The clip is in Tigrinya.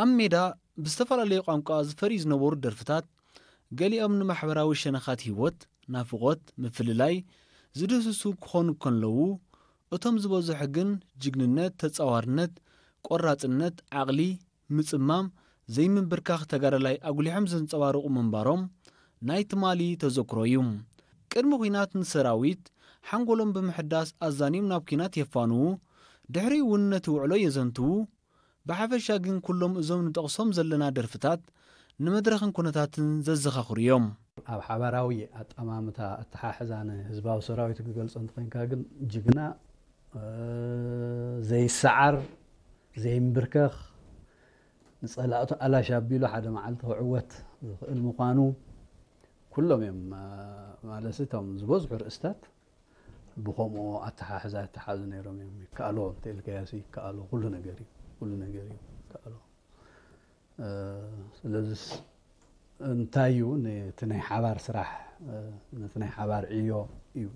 ኣብ ሜዳ ብዝተፈላለየ ቋንቋ ዝፈርዩ ዝነበሩ ደርፍታት፣ ገሊኦም ንማሕበራዊ ሸነኻት ህይወት፣ ናፍቖት፣ ምፍልላይ ዝድህስሱ ክኾኑ ከለዉ፣ እቶም ዝበዝሑ ግን ጅግንነት፣ ተጻዋርነት፣ ቆራጽነት፣ ዓቕሊ፣ ምጽማም፣ ዘይምንብርካኽ ተጋዳላይ ኣጉሊሖም ዘንጸባርቑ ምንባሮም ናይ ትማሊ ተዘክሮ እዩ። ቅድሚ ኲናት ንሰራዊት ሓንጎሎም ብምሕዳስ ኣዛንዮም ናብ ኲናት የፋንዉ፣ ድሕሪኡ እውን ነቲ ውዕሎ የዘንትዉ። ብሓፈሻ ግን ኩሎም እዞም ንጠቕሶም ዘለና ደርፍታት ንመድረኽን ኩነታትን ዘዘኻኽሩ እዮም። ኣብ ሓባራዊ ኣጠማምታ ኣተሓሕዛ ንህዝባዊ ሰራዊት ክገልጾ እንተኾይንካ ግን ጅግና፣ እ፣ ዘይሰዓር፣ ዘይምብርከኽ፣ ንጸላእቱ ኣላሽ ኣቢሉ ሓደ መዓልቲ ክዕወት ዝኽእል ምዃኑ ኩሎም እዮም፣ እ፣ ማለት እቶም ዝበዝሑ ርእስታት ብኸምኡ ኣተሓሕዛ ይተሓዙ ነይሮም እዮም። ይከኣሎ እንተኢልካዮሲ ይከኣሎ፣ ኩሉ ነገር እዩ፣ ኩሉ ነገር እዩ ይከኣሎ። እ፣ ስለዚስ እንታይ እዩ ነቲ ናይ ሓባር ስራሕ፣ እ፣ ነቲ ናይ ሓባር ዕዮ እዩ።